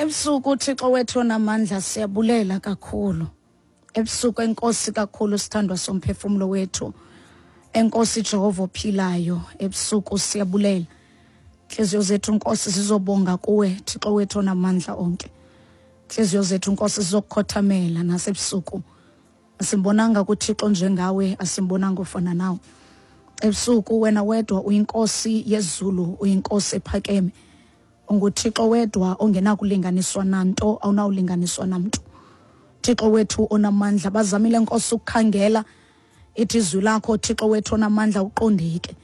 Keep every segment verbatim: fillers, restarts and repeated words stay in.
Ebusuku Thixo wethu onamandla siyabulela kakhulu. Ebusuku enkosi kakhulu sithandwa somphefumulo wethu. Enkosi Jehova ophilayo, ebusuku siyabulela. Inhliziyo zethu Nkosi sizobonga kuwe Thixo wethu onamandla onke. Inhliziyo zethu Nkosi sizokukhothamela nasebusuku. Asimbonanga kuThixo njengawe, asimbonanga ofana nawe. Ebusuku wena wedwa uyinkosi yezulu, uyinkosi ephakeme. UnguThixo wedwa ongenakulinganiswa nanto, awunawulinganiswa namntu. Thixo wethu onamandla, bazamile Nkosi ukukhangela ithi izwi lakho Thixo wethu onamandla uqondeke.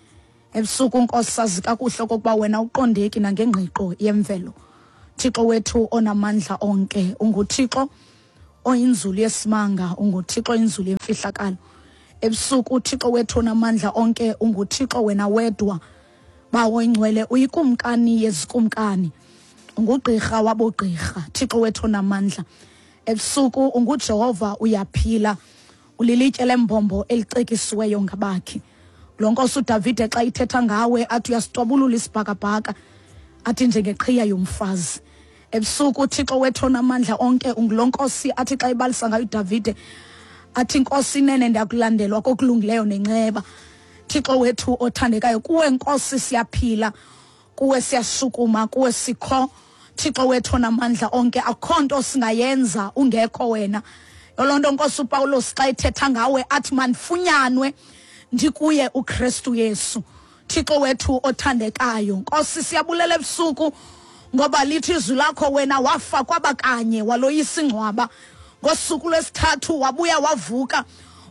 Ebusuku Nkosi sazi kakuhle okokuba wena uqondeki nangengqiqo yemvelo. Thixo wethu onamandla onke, unguThixo oyinzulu yesimanga, unguThixo oyinzulu yemfihlakalo. Ebusuku uThixo wethu onamandla onke, unguThixo wena wedwa. Bawo ingcwele, uyikumkani yezikumkani, ungugqirha wabogqirha, Thixo wethu onamandla. Ebusuku unguJehova uyaphila, ulilitye lembombo elicekisiweyo ngabakhi. Lo Nkosi uDavide xa ithetha ngawe athi uyasitwabulula isibhakabhaka, athi njengeqhiya yomfazi. Ebusuku uThixo wethu onamandla onke, ungulo Nkosi athi xa ibalisa ngayo uDavide athi Nkosi inene ndiyakulandelwa kokulungileyo nenceba. Thixo wethu othandekayo, kuwe Nkosi siyaphila, kuwe siyashukuma, kuwe sikho. Thixo wethu onamandla onke, akho nto singayenza ungekho wena. Yoloo nto Nkosi uPawulos xa ethetha ngawe athi mandifunyanwe ndikuye uKristu Yesu. Thixo wethu othandekayo, Nkosi siyabulela ebusuku ngoba lithi izwi lakho wena wafa kwabakanye, waloyisa ingcwaba. Ngosuku lwesithathu wabuya wavuka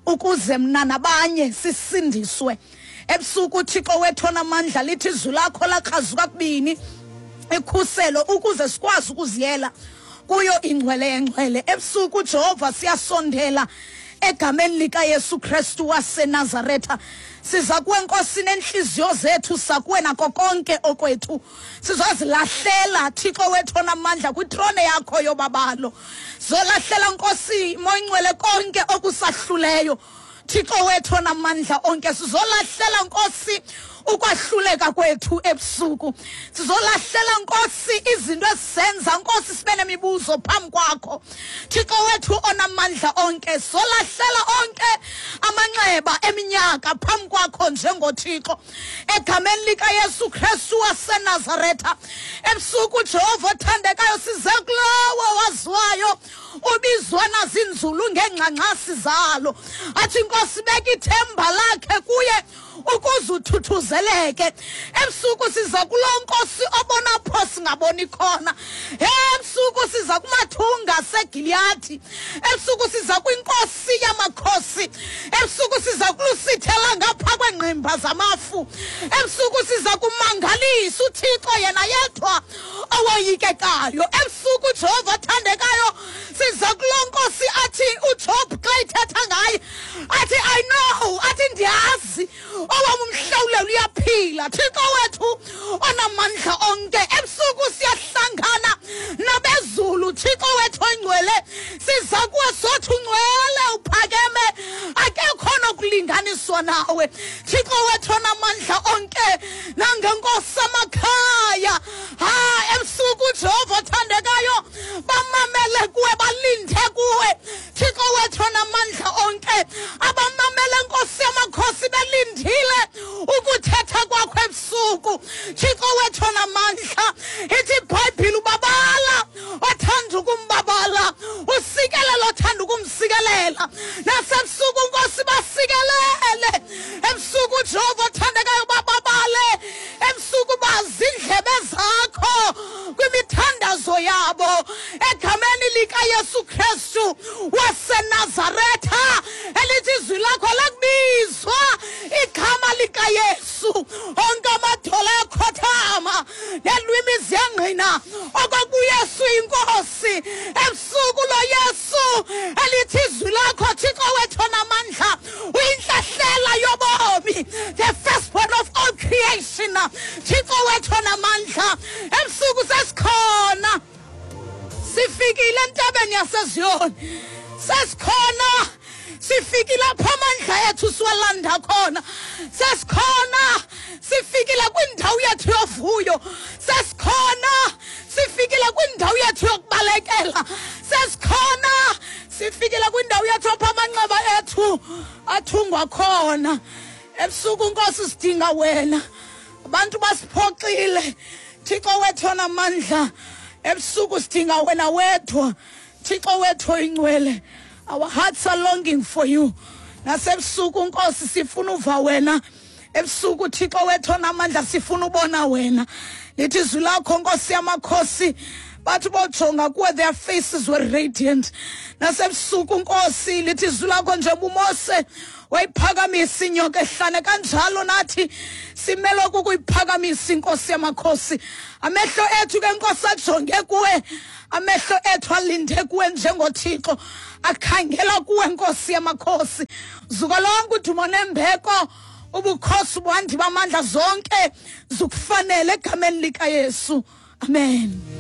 ukuze mna nabanye sisindiswe. Ebusuku Thixo wethu onamandla, lithi izwi lakho lakrazuka kubini ikhuselo ukuze sikwazi ukuziyela kuyo ingcwele yengcwele. Ebusuku Jehova siyasondela egameni likaYesu Kristu waseNazaretha. Siza kuwe Nkosi nenhliziyo zethu, sakuwe nako konke okwethu. Sizozilahlela Thixo wethu onamandla kwitrone yakho yobabalo. Zolahlela Nkosi moyingcwele konke okusahluleyo. Thixo wethu onamandla onke, sizolahlela Nkosi ukwahluleka kwethu ebusuku. Sizolahlela Nkosi izinto esizenza Nkosi sibe nemibuzo phambi kwakho. Thixo wethu onamandla onke, sizolahlela onke amanxeba eminyaka phambi kwakho njengoThixo. Egameni likaYesu Kristu waseNazaretha. Ebusuku Jehova othandekayo, size kulowo waziwayo ubizwa nazinzulu ngengxangxasi zalo. Athi Nkosi beka ithemba lakhe kuye ukuze uthuthuzeleke. Ebusuku siza kuloo Nkosi obona pho singaboni khona. Ebusuku siza kumathunga aseGiliyadi. Ebusuku siza kwinkosi yamakhosi. Ebusuku siza kulusithela ngapha kwengqimba zamafu. Ebusuku siza kumangalisa uThixo yena yedwa owoyikekayo. Ebusuku Jehova othandekayo, siza kuloo Nkosi athi uJob xa ethetha ngaye athi I know, athi ndiyazi owam umhlawulelo uyaphila. Thixo wethu onamandla onke, ebusuku siyahlangana nabezulu. Thixo wethu ongcwele, siza kuwe sothi ungcwele uphakeme, akekho nokulinganiswa nawe. Thixo wethu onamandla onke, nangenkosi amakhaya. Ha, ebusuku Jehova othandekayo, bamamele kuwe, balinde kuwe. Thixo wethu onamandla onke, abamamele Nkosi yamakhosi belindile ukuthetha kwakho ebusuku. Thixo wethu onamandla, ithi iBhayibhile ubabala othanda ukumbabala, usikelela othanda ukumsikelela. Nasebusuku Nkosi basikelele. Ebusuku Jehova othandekayo bababale. Ebusuku bazi indlebe zakho kwimithandazo yabo. Egameni likaYesu Kristu waseNazaretha, elithi izwi lakho lakubizwa igama likaYesu, onke amadolo ayakhothama nelwimi ziyangqina okokuYesu inkosi. Ebusuku lo Yesu elithi izwi lakho Thixo wethu onamandla uyinhlahlela yobomi, the firstborn of all creation. Thixo wethu onamandla, ebusuku sesikhona, sifikile entabeni yaseZiyoni, sesikhona, sifikile apho amandla ethu siwalanda khona, sesikhona, sifikile kwindawo yethu yovuyo, sesikhona, sifikile kwindawo yethu. onamandla. Sesikhona, sifikile kwindawo yethu apha amanxeba ethu athungwa khona. Ebusuku Nkosi sidinga wena. Abantu basiphoxile, Thixo wethu onamandla. Ebusuku sidinga wena wedwa, Thixo wethu oyingcwele. Our hearts are longing for you. Nasebusuku Nkosi sifuna uva wena. Ebusuku Thixo wethu onamandla sifuna ubona wena. Lithi izwi lakho Nkosi yamakhosi, bathi bojonga kuwe, their faces were radiant. Nasebusuku Nkosi lithi izwi lakho njengoba uMose wayiphakamisa inyoka ehlane, kanjalo nathi simele ukuyiphakamisa inkosi yamakhosi. Amehlo ethu ke Nkosi ajonge kuwe, amehlo ethu alinde kuwe njengoThixo, akhangela kuwe Nkosi yamakhosi. Zuko lonke udumo nembeko, ubukhosi bwandi bamandla zonke zikufanele egameni likaYesu. Amen.